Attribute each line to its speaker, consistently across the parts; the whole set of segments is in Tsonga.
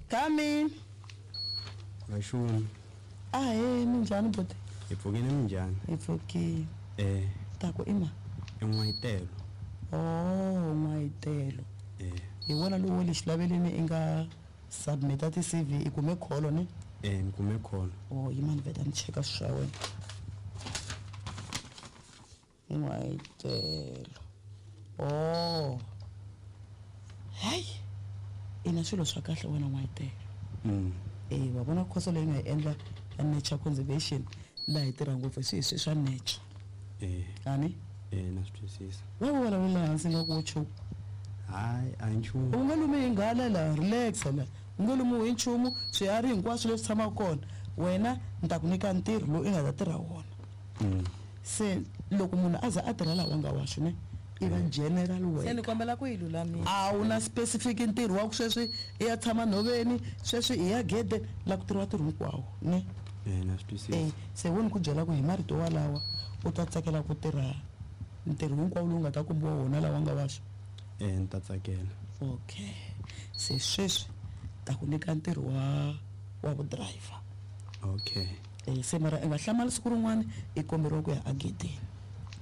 Speaker 1: Come in.
Speaker 2: Vaxumi.
Speaker 1: Ahee, minjhani buti?
Speaker 2: Hi pfukile minjhani?
Speaker 1: Hi pfukile.
Speaker 2: Eh.
Speaker 1: Ta ku i ma?
Speaker 2: I n'wayitelo.
Speaker 1: Oh, n'wayitelo.
Speaker 2: Eh.
Speaker 1: Hi wena lowu wa le xilaveleni i nga submita ti-CV i kume kholo ne?
Speaker 2: Eh, ni kume kholo.
Speaker 1: Oh, yima ni vheta ni cheka swilo swa wena. N'wayitelo. Oh. Hayi. I na swilo swa kahle wena n'wayitelo. Eh, wa vona khoso leyi nga yi endla ya nature conservation laha hi tirha ngopfu hi swi hi swa nature.
Speaker 2: Eh.
Speaker 1: Ani?
Speaker 2: Eh, na swi twisisa.
Speaker 1: Wa ku vulavula hansi nga ku wo chuha.
Speaker 2: Hayi, a hi nchumu.
Speaker 1: U nga lumi hi nghala la, relax la. U nge lumiwi hi nchumu, swiharhi hinkwaswo leswi tshamaka kona, wena ni ta ku nyika ntirho lowu i nga ta tirha wona. Se loko munhu a za a tirha laha wa nga waxo ne, i va general
Speaker 3: Se ni
Speaker 1: worker.
Speaker 3: kombela ku yi lulamisa.
Speaker 1: A wu na specific ntirho wa ku sweswi i ya tshama nhoveni, sweswi i ya gedeni, la ku tirhiwa ntirho hinkwawo ne.
Speaker 2: Eh, na swi twisisa.
Speaker 1: Eh, se wo ni ku byela ku hi marito walawa u ta tsakela ku tirha ntirho hinkwawo lowu nga ta kombiwa wona lawa nga waxo.
Speaker 2: Eh, ni ta tsakela.
Speaker 1: Okay. Se sweswi ta ku nyika ntirho wa wa vudriver.
Speaker 2: Okay.
Speaker 1: Eh, se mara i nga hlamali siku rin'wana i komberiwa ku ya agedeni.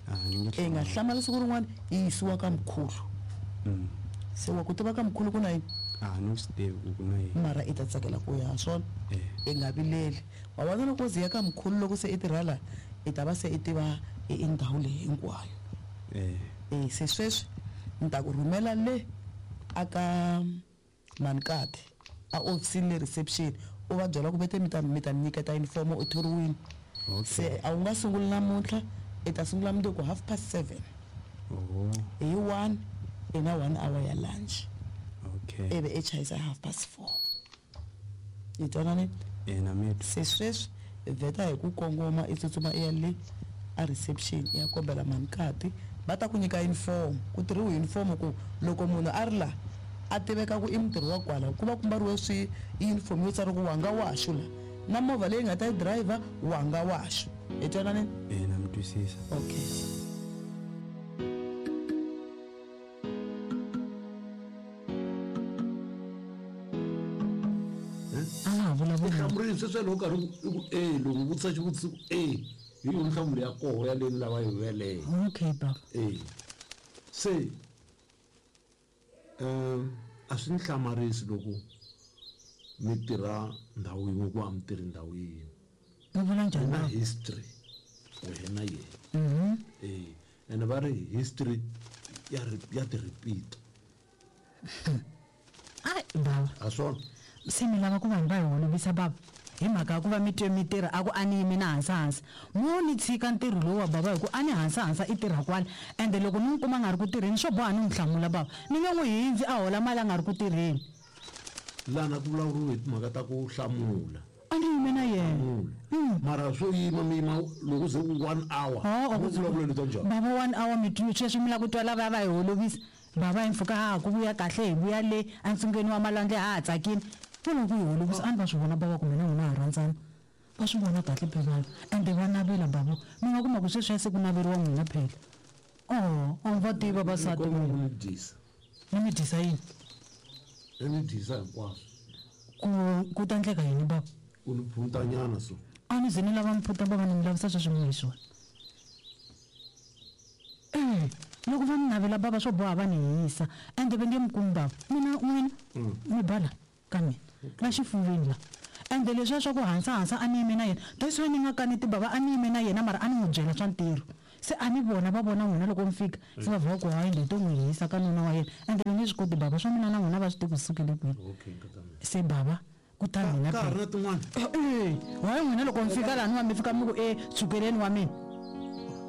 Speaker 2: A ni nge
Speaker 1: I nga
Speaker 2: hlamali.
Speaker 1: hlamali siku rin'wana i yisiwa ka mkhulu. Se wa ku tiva ka mkhulu ku na yini?
Speaker 2: A ni swi tivi ku ku na yini.
Speaker 1: Mara i ta tsakela ku ya swona.
Speaker 2: Eh.
Speaker 1: I nga vileli. Wa vona loko u ze ya ka mkhulu loko se i tirha la i ta va se i tiva i ndhawu leyi hinkwayo.
Speaker 2: Eh.
Speaker 1: Eh, se sweswi ni ta ku rhumela le aka Mankati a ofisini le reception u va byela ku vete mi ta mi ta ni nyiketa uniform u thoriwile.
Speaker 2: Okay.
Speaker 1: Se a wu nga sunguli namuntlha i ta sungula mundzuku 7:30.
Speaker 2: Oh.
Speaker 1: Hi 1 i na 1 hour ya lunch.
Speaker 2: Okay.
Speaker 1: Ivi i chayisa 4:30. Hi twananile?
Speaker 2: Eh, na mi twa.
Speaker 1: Se sweswi vheta hi ku kongoma i tsutsuma i ya le a reception i ya kombela Mankati va ta ku nyika uniform ku tirhiwe uniform ku loko munhu a ri la a tiveka ku i mutirhi wa kwala ku va ku mbariwe swi uniform yo tsariwa ku wanga waxo la na movha leyi nga ta yi driver wanga waxo. Hi twananile?
Speaker 2: Eh, na mi twisisa.
Speaker 1: Okay.
Speaker 4: A nga ha vulavuli.
Speaker 5: Hlamurile sweswo loko karhi i ku e loko u vutisa xivutiso ku e hi yona nhlamulo ya koho ya leyi ni lava hi yeleyo.
Speaker 4: Okay baba.
Speaker 5: E se a swi ni hlamarisi loko mi tirha ndhawu yin'we ku a mi tirhi ndhawu yin'we.
Speaker 4: Mi vula njhani
Speaker 5: Na
Speaker 4: baba?
Speaker 5: history wena yena. Eh, ene va ri history ya ya ti repeat.
Speaker 4: Ai baba.
Speaker 5: A swona.
Speaker 4: Se mi lava ku vanhu va hi holovisa baba hi mhaka ya ku va mi twe mi tirha a ku a ni yimi na hansahansa mo ni tshika ntirho lowu wa baba hi ku a ni hansahansa i tirha kwala ende loko ni n'wi kuma a nga ri ku tirheni swo boha ni n'wi hlamula baba ni nge n'wi hindzi a hola mali a nga ri ku tirheni.
Speaker 5: Lana ku vulavuriwe hi timhaka ta ku hlamula.
Speaker 4: A ni yime na yena.
Speaker 5: Hlamula. Mara swo yima mi yima loko ze ku 1 hour.
Speaker 4: Oh,
Speaker 5: Ku vulavula leswa njhani?
Speaker 4: Baba 1 hour mi twi sweswi mi lava ku twa lava va hi holovisa. Baba hi mpfhuka ha ha ku vuya kahle hi vuya le entsungeni wa malwandle ha ha tsakile. Vo lava ku hi holovisa a ni va swi vona baba ku mina n'wina ha rhandzana. Va swi vona kahle phela ende va navela baba. Mi nga kuma ku sweswiya se ku naveriwa n'wina phela. Oh, a va tivi vavasati
Speaker 5: Ni kombela
Speaker 4: n'wina.
Speaker 5: ku mi dyisa.
Speaker 4: Ni mi dyisa yini?
Speaker 5: Ni mi dyisa hinkwaswo.
Speaker 4: Ku ku ta endleka yini baba?
Speaker 5: U ni phuntanyana so.
Speaker 4: A ni ze ni lava mphuta baba ni mi lavisa sweswi mi hi swona. Eh, loko va ni navela baba swo boha va ni hisa ende va nge mi kumi baba. Mina n'wina mi bala ka mina la xifuveni la. Ende leswiya swa ku hansahansa a ni yime na yena. That's why ni nga kaneti baba a ni yime na yena mara a ni n'wi byela swa ntirho. Se a ni vona va vona n'wina loko mi fika se va vhela ku hayi leyi to n'wi hisa ka nuna wa yena. Ende va nge swi koti baba swa mina na n'wina va swi tivi ku sukele kwihi.
Speaker 5: Okay, nkata mina.
Speaker 4: Se baba ku ta mina
Speaker 5: Ka ha ri
Speaker 4: phela.
Speaker 5: na tin'wana?
Speaker 4: Eh, hayi n'wina loko mi fika laniwa mi fika mi ku e tshukeleni wa mina.